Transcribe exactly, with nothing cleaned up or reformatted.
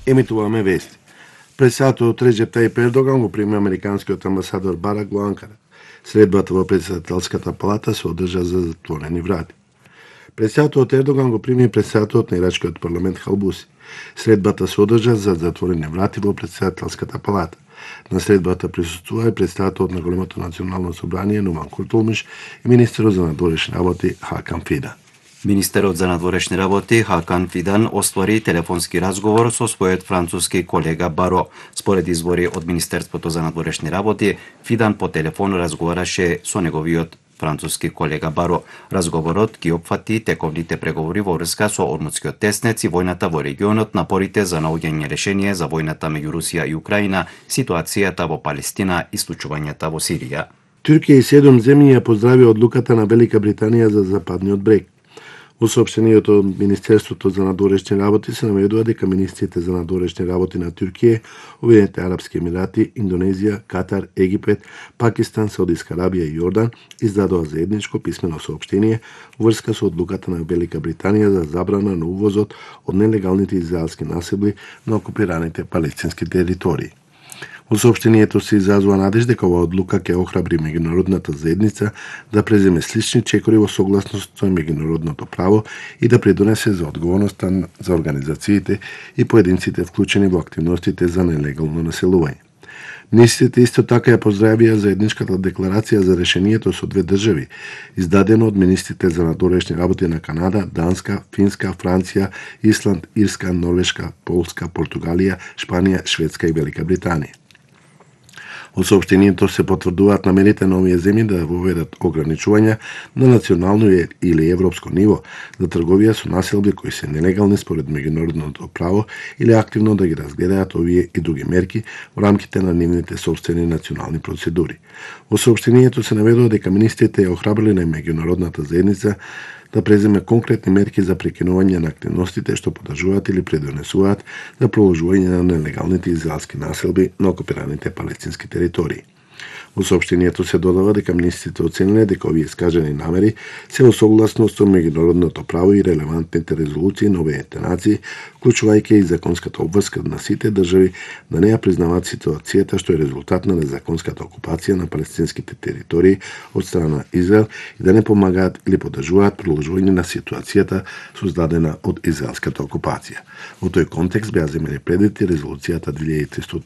Емитуваме вести. Председателот Реџеп Тајип Ердоган го прими американскиот амбасадор Барак во Анкара. Средбата во председателската палата се одржа за затворени врати. Председателот Ердоган го прими председателот на ирачкиот парламент Халбуси. Средбата се одржа за затворени врати во председателската палата. На средбата присуствува и председателот на големото национално собрание Нуман Куртулмуш и министерот за надворешни работи Хакан Фидан. Министерот за надворешни работи Хакан Фидан оствари телефонски разговор со својот француски колега Баро. Според извори од Министерството за надворешни работи, Фидан по телефон разговараше со неговиот француски колега Баро. Разговорот ги опфати тековните преговори во врска со Ормутскиот теснец и војната во регионот, напорите за наоѓање решение за војната меѓу Русија и Украина, ситуацијата во Палестина и случувањата во Сирија. Туркија и седум земји ја поздрави одлуката на Велика Британија за Западниот брег. Во соопштението од Министерството за надворешни работи се наведува дека министрите за надворешни работи на Туркија, Обединетите арапски емирати, Индонезија, Катар, Египет, Пакистан, Саудиска Арабија и Јордан издадоа заедничко писмено соопштение во врска со одлуката на Велика Британија за забрана на увозот од нелегалните израелски населби на окупираните палестински територии. Во соопштението се изразува надеж дека оваа одлука ќе охрабри меѓународната заедница да преземе слични чекори во согласност со меѓународното право и да придонесе за одговорноста за организациите и поединците вклучени во активностите за нелегално населување. Министрите исто така ја поздравија заедничката декларација за решението со две држави, издадено од министрите за надворешни работи на Канада, Данска, Финска, Франција, Исланд, Ирска, Норвешка, Полска, Португалија, Шпанија, Шведска и Велика Британија. Во соопштението се потврдуваат намерите на овие земји да воведат ограничувања на национално или европско ниво за трговија со населби кои се нелегални според меѓународното право или активно да ги разгледаат овие и други мерки во рамките на нивните собствени национални процедури. Во соопштението се наведува дека министрите ја охрабриле на меѓународната заедница да преземе конкретни мерки за прекинување на активностите што подржуваат или предонесуваат за продолжување на нелегалните израелски населби на окупираните палестински територии. Во соопштението се додава дека министрите оцениле дека овие искажани намери се во согласност со меѓународното право и релевантните резолуции на Обединетите нации, вклучувајќи и законската обврска на сите држави да не ја признаваат ситуацијата што е резултат на незаконската окупација на палестинските територии од страна на Израел и да не помагаат или поддржуваат продолжување на ситуацијата создадена од израелската окупација. Во тој контекст беа земени предвид резолуцијата две илјади и триста